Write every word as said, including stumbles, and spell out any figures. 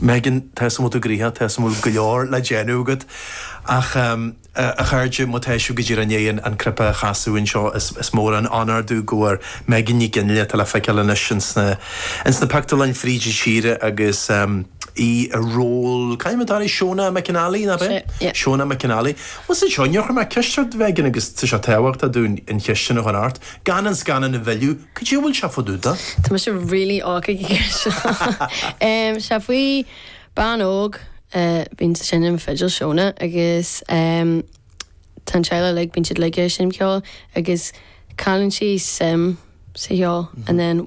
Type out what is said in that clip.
Megan tá mu grithe tá mu go leor le déanamh agat ach um, a chairde má tá sibh go dtí an an cnaipe a chasadh anseo is, is mór an onóir dúinn go bhfuil Megan Ní Fhionnghaile tá le feiceáil anois insna insna pictiúrlanna fríd an tír agus um, í a ról caiimmetáí Shona McAnally na be? Yeah. Shona McAnally. Was é seo chu me ceist bhegan agus tá sé tábhachtach dúinn an cheist sin a chur ort, gan an scannán a mhilleadh, cad é bhfuil sé fá dtaobh de? Tá mise really óca um, sé faoi bean óg uh, bíonn seinm fidil Shona agus um, tá teaghlach like bíonn siad like seinm ceol agus cailleann sí suim sa cheol and then